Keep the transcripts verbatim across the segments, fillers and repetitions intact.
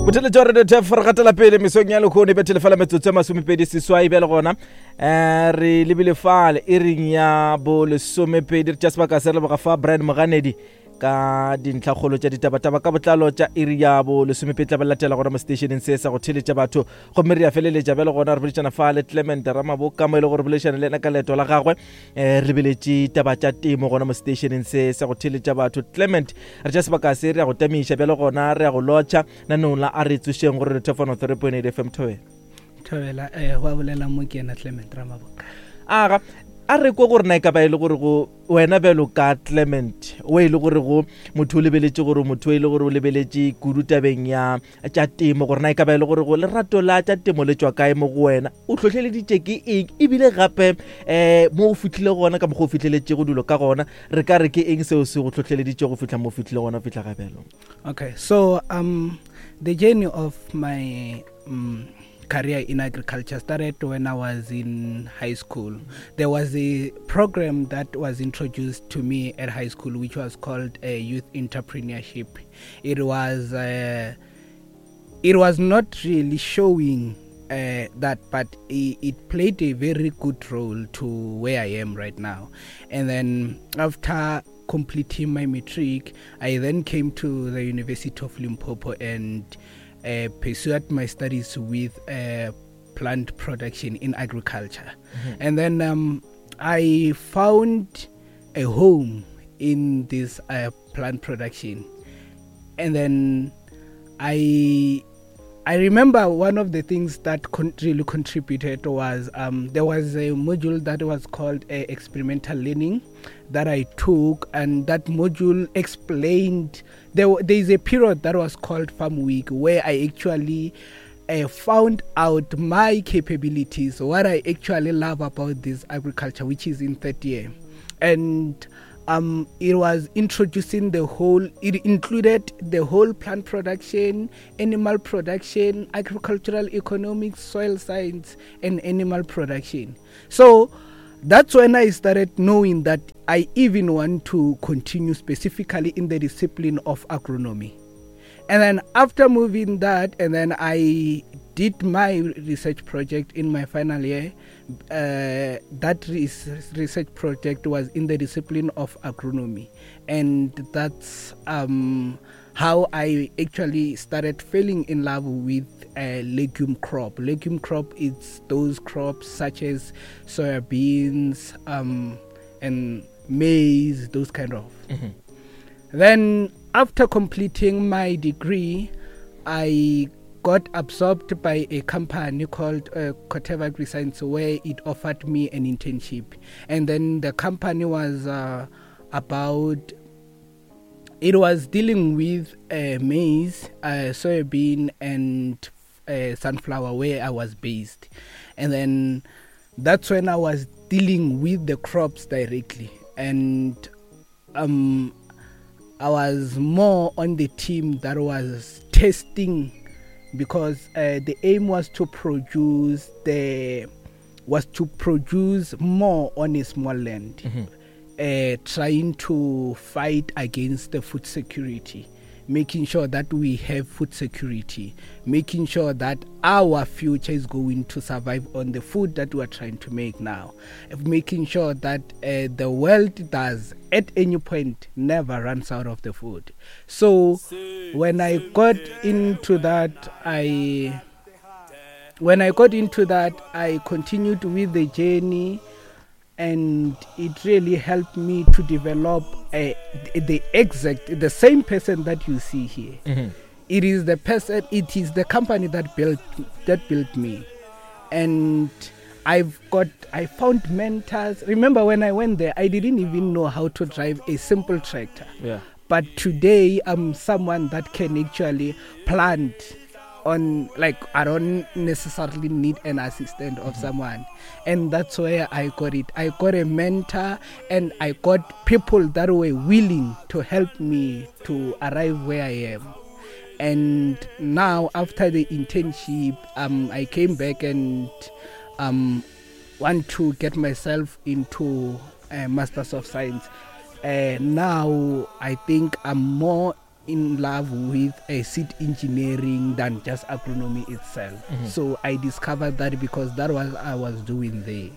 Botheletša wa Radio Tef, re gatela pele mesong ya lekgone, bethele fela metsotso e masomepedi seswai. Bjale gona um re lebile fale e reng ya bo lesomepedi, re tša sebaka se re leboga fa Brian Moganedi ka dintlhakgolo tša ditabataba ka botlalo tša iri ya bo lesomepedi tla ba latela gona mo stationeng se sa go theletša batho. Gomme re ya feleletša bjale gona re boledišana fa le Clement Ramaboka, mo e le gore boledišana le ena ka leeto la gagwe, um re lebeletše taba tša temo gona mo stationeng se sa go theletša batho. Clement, re tša sebaka se re ya go tamiša bjale gona, re ya go lotšha nanong la a re tsošeng gore re thefano three point eight F M. Thobela. Thobela, eh, wa bolela mo ke ena Clement Ramaboka. Aga, a re kwe gore na e ka ba e le gore go wena bjalo ka Clement, o e le gore go motho o lebeletše gore motho e le gore o lebeletše kudu tabeng ya tša temo, gore na e ka ba e le gore go lerato la tša temo le tšwa kae mo go wena, o hlohleleditše ke eng, ebile gape um mo o fihlile gona ka mokgwa o fihleletšego dilo ka gona, re ka re ke eng seo se go hlohleleditše go fihla mo o fihlile gona fihla ga bjalo? Okay, so um the journey of my um, career in agriculture started when I was in high school. There was a program that was introduced to me at high school which was called uh, Youth Entrepreneurship. It was, uh, it was not really showing, uh, that, but it, it played a very good role to where I am right now. And then after completing my matric, I then came to the University of Limpopo and, uh, pursued my studies with, uh, plant production in agriculture. Mm-hmm. And then, um, I found a home in this, uh, plant production. And then I, I remember one of the things that con- really contributed was, um, there was a module that was called, uh, experimental learning that I took, and that module explained there, w-, there is a period that was called Farm Week where I actually, uh, found out my capabilities, what I actually love about this agriculture, which is in third year. And, um, it was introducing the whole, it included the whole plant production, animal production, agricultural economics, soil science, and animal production. So that's when I started knowing that I even want to continue specifically in the discipline of agronomy. And then after moving that, and then I did my research project in my final year. Uh, that res-, research project was in the discipline of agronomy. And that's, um, how I actually started falling in love with a legume crop. Legume crop is those crops such as soybeans, um, and maize, those kind of. Mm-hmm. Then after completing my degree, I got absorbed by a company called, uh, Corteva AgriScience, where it offered me an internship. And then the company was, uh, about, it was dealing with, uh, maize, uh, soybean, and, uh, sunflower, where I was based. And then that's when I was dealing with the crops directly. And, um, I was more on the team that was testing, because, uh, the aim was to produce the was to produce more on a small land, Mm-hmm. uh, trying to fight against the food security, making sure that we have food security, making sure that our future is going to survive on the food that we are trying to make now, making sure that, uh, the world does at any point never runs out of the food. So when I got into that, I when I got into that, I continued with the journey, and it really helped me to develop a, the exact, the same person that you see here. Mm-hmm. It is the person, it is the company that built, that built me. And I've got, I found mentors. Remember when I went there, I didn't even know how to drive a simple tractor. Yeah. But today I'm someone that can actually plant on, like, I don't necessarily need an assistant of Mm-hmm. someone. And that's where I got it. I got a mentor, and I got people that were willing to help me to arrive where I am. And now after the internship, um, I came back and, um, want to get myself into, uh, Masters of Science. Uh, now I think I'm more in love with uh, seed engineering than just agronomy itself. Mhm. So I discovered that because that was I was doing there.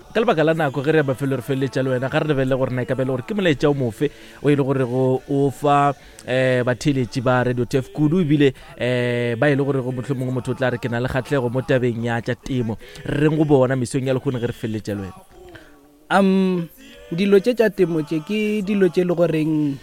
Ka lebaka la nako ge re ya mafelo re feleletša le wena, ga re lebelele gore na e ka be e le gore ke molaetša o mofe o e le gore go o fa um batheeletši ba Radio T F kudu, ebile um ba e le gore go mohlomongwe motho o tla re ke na le kgatlhego mo tabeng ya tša temo, re reng go bona mesong ya lekgone ge re feleletša le wena? Um dilo tše tša temo tše ke dilo tše le goreng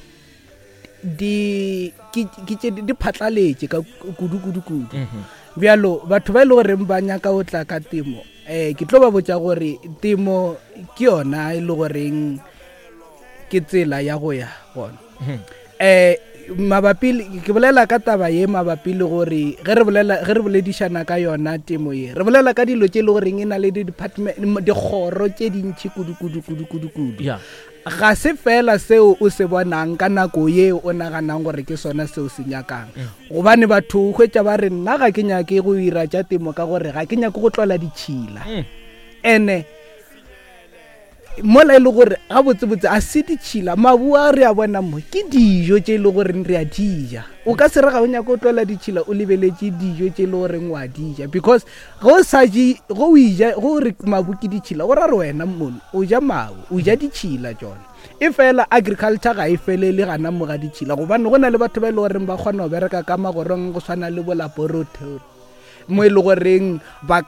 di ke ke tše di phatlaletše ka kudu kudu kudu. Mhm. Bjalo batho ba e le goreng ba nyaka go tla ka temo, um ke tlo ba botša gore temo ke yona e le goreng ke tsela ya go ya gona. Mhm. um mabapi le- ke bolela ka taba ye mabapi le gore ge re bolela, ge re boledišana ka yona temo ye, re bolela ka dilo tše e le goreng e na le di-department, dikgoro tše dintšhi kudu kudu kudu kudu kudu. Ya ga se fela seo o se bonang ka nako ye o naganang gore ke sona seo se nyakang, gobane batho o hwetša ba re, "Nna ga ke nyake go ira tša temo ka gore ga ke nyake go tlola ditšhila." Mm. Ene mola e le gore gabotsebotse a se ditšhila, mabu a re a bona mo ke dijo tše e le goreng re a dija. O ka se re ga o nyaka o tlola ditšhila o lebeletše dijo tše e le goreng wa dija, because ge o sa je, ge o ija, ge o re mabu ke ditšhila, go ra re wena mono o ja mabu, o ja ditšhila tšona. E fela agriculture ga e felele gana mo ga ditšhila, gobane go na le batho ba e le goreng ba kgona go bereka ka magorong go swana le bo laboratory mo e le goreng ba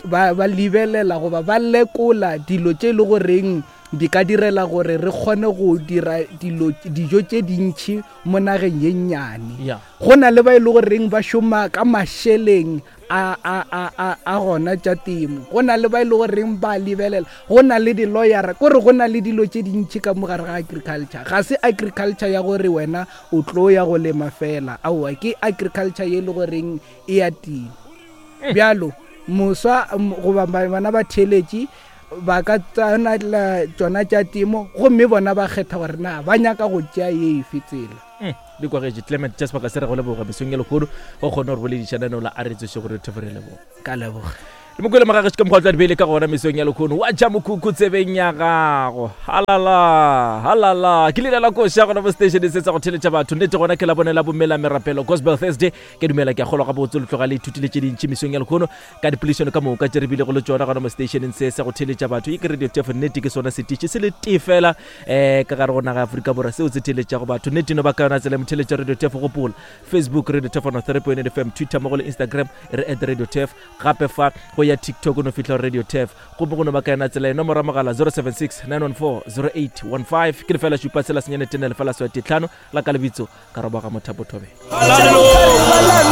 ba ba lebelela goba ba lekola dilo tše e le goreng di ka direla gore re kgone go dira dilo, dijo tše dintšhi mo nageng ye nnyane. Ya go na le ba e le goreng ba šoma ka mašeleng a a a a a gona tša temo, go na le ba e le goreng ba lebelela, go na le di-lawyera, kore go na le dilo tše dintšhi ka mo gare ga agriculture. Ga se agriculture ya gore wena o tlo ya go lema fela, aowa, ke agriculture ye e le goreng e atile. Bjalo moswa m- goba ba- bana ba theeletše ba ka tsena tšona tša temo gomme bona ba kgetha gore na ba nyaka go tšea ye efe tsela. Mm, di kwagetše. Clement, tša sebaka se re go leboga mesong ya lekgono go kgone gore boledišana la a re tsoše gore thefo re leboga. Ka leboga. Le mokwele magagešo ka mokgwa o tla di beile ka gona mesong ya lekgono wa ja mokhukhu tsebeng ya gago. Halala halala, ke leina la koša gona mo stationeng se sa go theletša batho. Nnete gona ke la bone la bomela merapelo, Gospel Thursday. Ke dumela, ke a kgolwa gabotse le tloga le ithutile tše dintši mesong ya lekgono ka dipoledišano ka moka tše re bilego le tšona gona mo stationeng se sa go theletša batho. E ke Radio Tefo, nnete ke sona setiši se le tee fela um ka gare go naga ya Aforika Borwa seo se theletšago batho. Nnete no ba ka yona tsela motheletša Radio Tefo. Gopola Facebook, Radio Tefo three point eight F M, Twitter mo go le Instagram re at Radio Tef, gape fa go ya TikTok no fihla Radio Tef, gomme go no ba ka yona tsela e. Nomoro ya mogala zero seven six nine one four zero eight one five, ke lefela šupa tshela senyane tene lefela swete tlhano. La ka lebitso ka robaga Mothapo Thobela. Hallelujah.